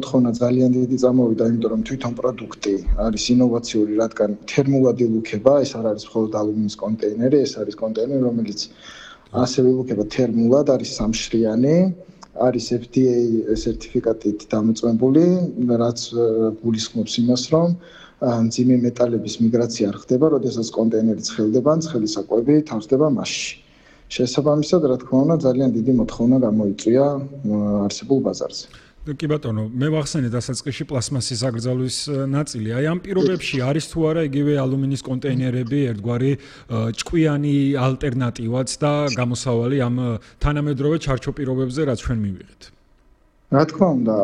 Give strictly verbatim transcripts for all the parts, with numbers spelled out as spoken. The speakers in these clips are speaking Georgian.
მოთხოვნა ძალიან დიდი წამოვიდა, იმიტომ რომ თვითონ პროდუქტი არის ინოვაციური, რადგან თერმულად ილუქება, ეს არ არის მხოლოდ ალუმინის კონტეინერი, ეს არის კონტეინერი, რომელიც ასევე ილუქება თერმულად, არის სამშრიანი, არის F D A სერტიფიკატით დამოწმებული, რაც გულისხმობს იმას, რომ მძიმე მეტალების მიგრაცია არ ხდება, როდესაც კონტეინერი ცხელდება, ან ცხელი საკვები თავსდება მასში. შესაბამისად, რა თქმა უნდა, ძალიან დიდი მოთხოვნა გამოიწვია არსებულ ბაზარზე. კი ბატონო, მე ვახსენე დასაწყისში პლასმასის აკრძალვის ნაწილი. აი ამ პირობებში არის თუ არა იგივე ალუმინის კონტეინერები ერთგვარი ჭკვიანი ალტერნატივაც და გამოსავალი ამ თანამედროვე ჩარჩო პირობებზე, რაც ჩვენ მივიღეთ. რა თქმა უნდა,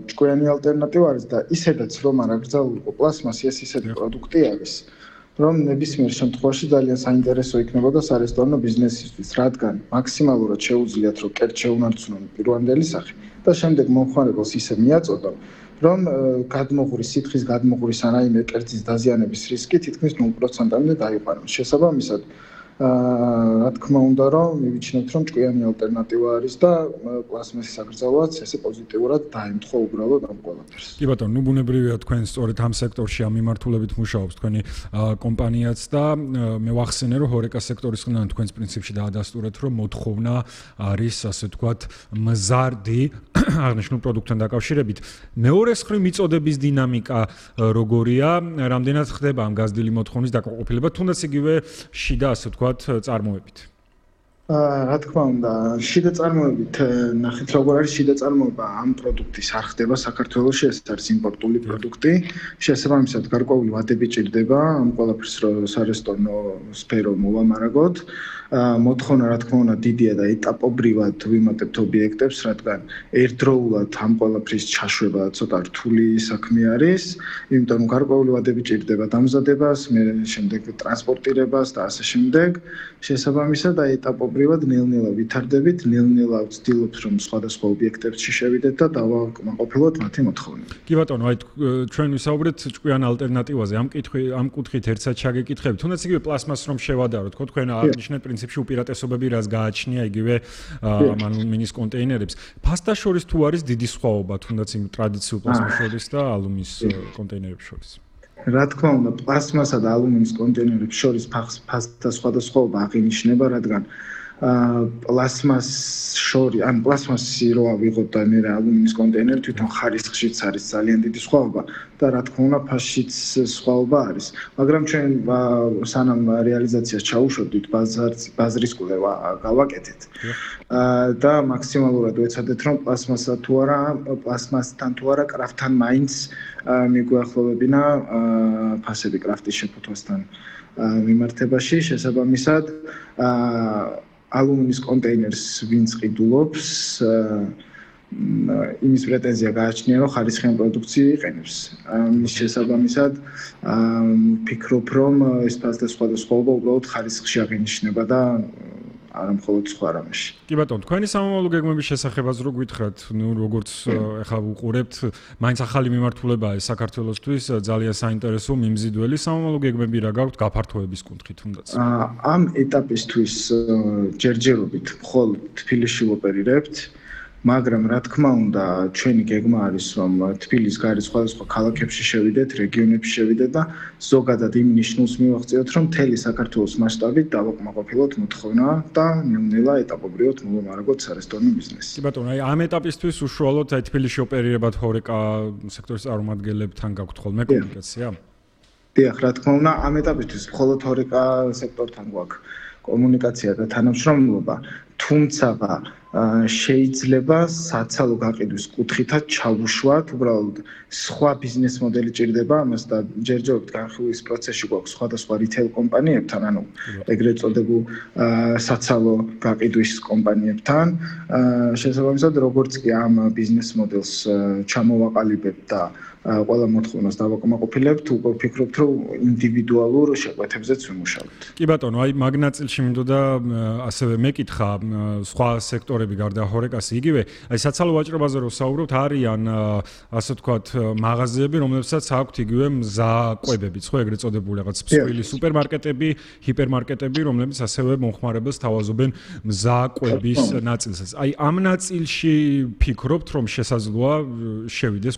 ჭკვიანი ალტერნატივა არის და ისედაც რომ არ აკრძალულიყო პლასმასი, ეს ისეთი პროდუქტი არის, რომ ნებისმიერ შემთხვევაში ძალიან საინტერესო იქნებოდა სარესტორნო ბიზნესისთვის, რადგან მაქსიმალურად შეუძლიათ რომ კერძ შეუნარჩუნონ პირვანდელი სახე და შემდეგ მომხმარებელს ისე მიაწოდონ, რომ გადმოღურის სითხის გადმოღურის ან რაიმე კერძის დაზიანების რისკი თითქმის ნულ პროცენტამდე დაიყვანოს. შესაბამისად, რა თქმა უნდა, რომ მივიჩნევთ, რომ ჭკვიანი ალტერნატივა არის და პლასმასის აკრძალვაც ესე პოზიტიურად დაემთხვა უბრალოდ ამ ყველაფერს. კი ბატონო, ნუ ბუნებრივია თქვენ სწორედ ამ სექტორში ამ მიმართულებით მუშაობს თქვენი კომპანიაც და მე ვახსენე, რომ ჰორეკა სექტორის ხნან თქვენს პრინციპში დაადასტურეთ, რომ მოთხოვნა არის, ასე ვთქვათ, მზარდი აღნიშნულ პროდუქტთან დაკავშირებით. მეორე მხრივ მიწოდების დინამიკა როგორია, რამდენად ხდება ამ გაზრდილი მოთხოვნის დაკმაყოფილება, თუნდაც იგივე შიდა, ასე ვთქვათ, წარმოებით. რა თქმა უნდა, შიდა წარმოებით ნახეთ როგორ არის შიდა წარმოება ამ პროდუქტის არ ხდება საქართველოში, ეს არის იმპორტული პროდუქტი. შესაბამისად, გარკვეული ვადები ჭირდება ამ ყველაფერს სარესტორნო სფერო მოვამარაგოთ. მოთხოვნა რა თქმა უნდა დიდია და ეტაპობრივად ვიმატებთ ობიექტებს, რადგან ერთდროულად ამ ყველაფრის ჩაშვება ცოტა რთული საქმე არის, იმიტომ რომ გარკვეული ვადები ჭირდება დამზადებას, მე შემდეგ ტრანსპორტირებას და ასე შემდეგ. შესაბამისად, აი ეტაპობრივად ნელ-ნელა ვითარდებით, ნელ-ნელა ვცდილობთ რომ სხვადასხვა ობიექტებში შევიდეთ და დავაკმაყოფილოთ მათი მოთხოვნები. კი ბატონო, აი ჩვენ ვისაუბრეთ ჭკვიან ალტერნატივაზე, ამ კითხვი ამ კუთხით ერთსა ჩაგეკითხებით. თუნდაც იგივე პლასმასს რომ შევადაროთ, ხო, თქვენ აღნიშნეთ პრინციპში უპირატესობები რას გააჩნია იგივე ამ ალუმინის კონტეინერებს. ფასტა შორის თუ არის დიდი სხვაობა, თუნდაც იმ ტრადიციულ პლასმას შორის და ალუმინის კონტეინერებს შორის. რა თქმა უნდა, პლასმასა და ალუმინის კონტეინერებს შორის ფასტა სხვადასხვაობა აღინიშნება, რადგან პლასმას შორი, ან პლასმასი რო ავიღოთ და მე ალუმინის კონტეინერი თვითონ ხარისხშიც არის ძალიან დიდი სხვაობა და რა თქმა უნდა ფასშიც სხვაობა არის. მაგრამ ჩვენ სანამ რეალიზაციას ჩაუშვებდით, ბაზრის კვლევა გავაკეთეთ და მაქსიმალურად ვეცადეთ რომ პლასმასა თუ არა, პლასმასთან თუ არა, კრაფტთან მაინც მიგვახლოვებინა ფასები კრაფტის შეფუთვასთან მიმართებაში. შესაბამისად, ალუმინის კონტეინერს ვინც ყიდულობს, იმის პრეტენზია გააჩნია, რომ ხარისხიან პროდუქცია იყენებს. მის შესაბამისად, ვფიქრობ, რომ ეს ფასდა სხვადასხვაობა უბრალოდ ხარისხში აღინიშნება და არა მხოლოდ სხვა რამეში. კი ბატონო, თქვენი სამომავლო გეგმების შესახებაც რო გითხრათ, ნუ როგორც ეხლა ვუყურებთ, მაინც ახალი მიმართულებაა საქართველოსთვის, ძალიან საინტერესო მიმზიდველი სამომავლო გეგმები რა გაქვთ გაფართოების კუთხით თუნდაც. ამ ეტაპისთვის ჯერჯერობით მხოლოდ თბილისში ვოპერირებთ. მაგრამ რა თქმა უნდა, ჩვენი გეგმა არის, რომ თბილისის გარეთ სხვადასხვა ქალაქებში შევიდეთ, რეგიონებში შევიდეთ და ზოგადად იმ ნიშნულს მივაღწიოთ, რომ მთელი საქართველოს მასშტაბით დავაკმაყოფილოთ მოთხოვნა და ნელ-ნელა ეტაპობრივად მოვამარაგოთ სარესტორნო ბიზნესი. კი ბატონო, აი ამ ეტაპისთვის უშუალოდ აი თბილისში ოპერირებად ჰორეკა სექტორის წარმომადგენლებთან გაქვთ ხოლმე კომუნიკაცია? დიახ, რა თქმა უნდა, ამ ეტაპისთვის მხოლოდ ჰორეკა სექტორთან გვაქვს კომუნიკაცია და თანამშრომლობა, თუმცა შეიძლება საცალო გაყიდვის კუთხითაც ჩავუშვათ, უბრალოდ სხვა ბიზნეს მოდელი ჭირდება ამას და ჯერჯერობით განხილვის პროცესში გვაქვს სხვადასხვა რიტეილ კომპანიებთან, ანუ ეგრეთ წოდებულ საცალო გაყიდვის კომპანიებთან. შესაბამისად, როგორც კი ამ ბიზნეს მოდელს ჩამოვაყალიბებთ და ყველა მოთხოვნას დავაკმაყოფილებთ, უკვე ვფიქრობთ, რომ ინდივიდუალურ შეკვეთებზეც ვიმუშავებთ. კი ბატონო, აი მაგ ნაწილში მინდოდა ასევე მეკითხა, სხვა სექტორები გარდა ჰორეკასი იგივე აი საცალო ვაჭრობაზე რო საუბრობთ არიან ასე ვთქვათ მაღაზიები რომლებსაც აქვთ იგივე მზაყვებებიც ხო ეგრეთ წოდებული რაღაც მსხვილი სუპერმარკეტები ჰიპერმარკეტები რომლებიც ასევე მომხმარებელს თავაზობენ მზაყვების ნაწილსაც აი ამ ნაწილში ფიქრობთ რომ შესაძლოა შევიდეს